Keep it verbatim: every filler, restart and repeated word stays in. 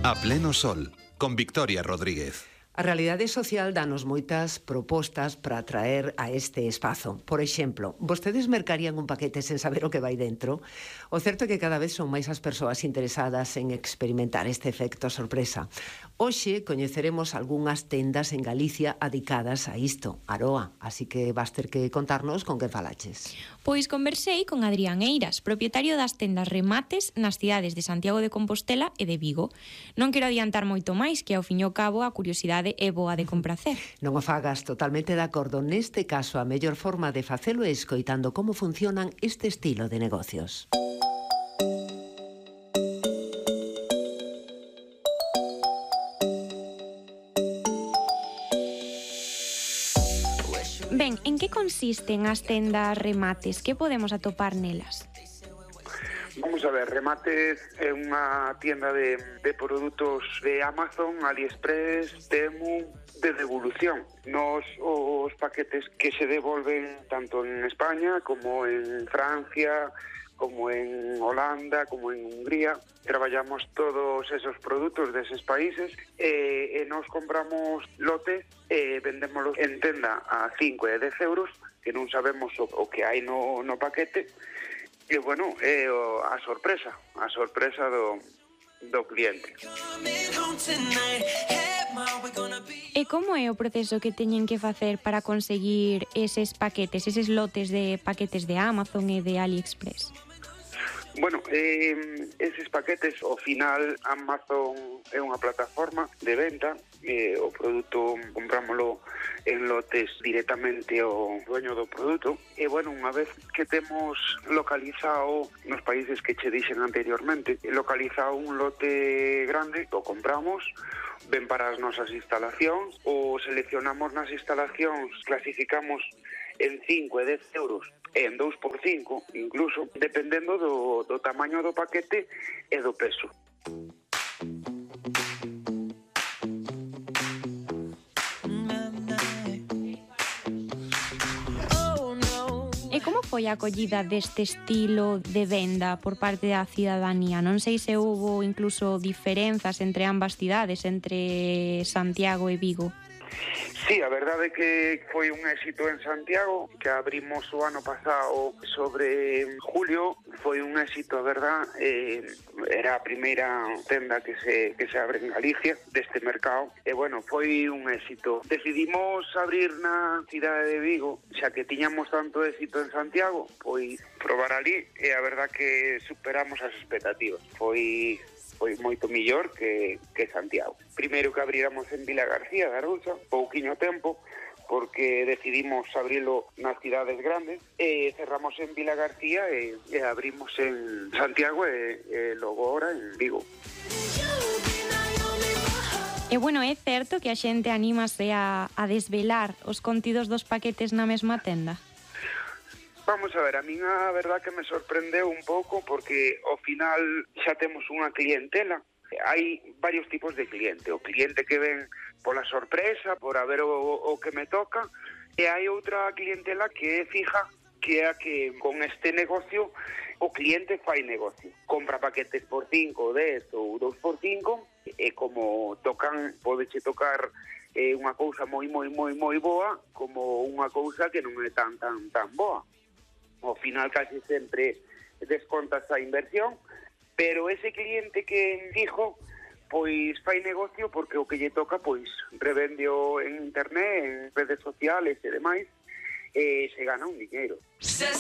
A pleno sol, con Victoria Rodríguez. A realidade social danos moitas propostas para atraer a este espazo. Por exemplo, vostedes mercarían un paquete sen saber o que vai dentro? O certo é que cada vez son máis as persoas interesadas en experimentar este efecto sorpresa. Hoxe coñeceremos algunhas tendas en Galicia adicadas a isto, Aroa, así que vas ter que contarnos con que falaches. Pois conversei con Adrián Eiras, propietario das tendas Remates nas cidades de Santiago de Compostela e de Vigo. Non quero adiantar moito máis, que ao fin e ao cabo a curiosidade é boa de compracer. Non o fagas, totalmente de acordo. Neste caso, a mellor forma de facelo é escoitando como funcionan este estilo de negocios. Ben, en que consisten as tendas Remates? Que podemos atopar nelas? Vamos a ver, Remates é unha tienda de, de produtos de Amazon, AliExpress, Temu, de devolución. Nos os paquetes que se devolven tanto en España como en Francia, como en Holanda, como en Hungría. Traballamos todos esos produtos deses países e, e nos compramos lotes e vendémoslos en tenda a cinco e dez euros, que non sabemos o, o que hai no, no paquete. E, bueno, é o, a sorpresa, a sorpresa do, do cliente. E como é o proceso que teñen que facer para conseguir eses paquetes, eses lotes de paquetes de Amazon e de AliExpress? Bueno, eh, eses paquetes, ao final, Amazon é unha plataforma de venta, eh, o produto comprámoslo en lotes directamente ao dueño do produto, e, bueno, unha vez que temos localizado nos países que che dixen anteriormente, localizado un lote grande, o compramos, ven para as nosas instalacións, o seleccionamos nas instalacións, clasificamos en cinco e dez euros, en dous por cinco, incluso, dependendo do, do tamaño do paquete e do peso. E como foi a acollida deste estilo de venda por parte da cidadanía? Non sei se houbo incluso diferenzas entre ambas cidades, entre Santiago e Vigo. Sí, a verdade é que foi un éxito en Santiago, que abrimos o ano pasado sobre julio, foi un éxito, a verdad, eh, era a primeira tenda que se, que se abre en Galicia deste mercado, e, bueno, foi un éxito. Decidimos abrir na cidade de Vigo, xa que tiñamos tanto éxito en Santiago, pois probar ali, e a verdad que superamos as expectativas. Foi... foi moito millor que, que Santiago. Primeiro que abriramos en Vila García de Arousa, pouquiño tempo, porque decidimos abrilo nas cidades grandes, e cerramos en Vila García e, e abrimos en Santiago e, e logo ahora en Vigo. E, bueno, é certo que a xente anímase a, a desvelar os contidos dos paquetes na mesma tenda? Vamos a ver, a min a verdad que me sorprendeu un pouco porque ao final xa temos unha clientela. Hai varios tipos de cliente. O cliente que ven pola sorpresa, por a ver o, o que me toca, e hai outra clientela que é fija, que é a que con este negocio o cliente fai negocio. Compra paquetes por cinco, dez ou dous por cinco e como tocan, podeche tocar eh, unha cousa moi, moi, moi, moi boa como unha cousa que non é tan, tan, tan boa. Ao final casi sempre descontas a inversión, pero ese cliente que fijo, pois fai negocio porque o que lle toca, pois revendeo en internet, en redes sociales e demais, e se gana un dinheiro.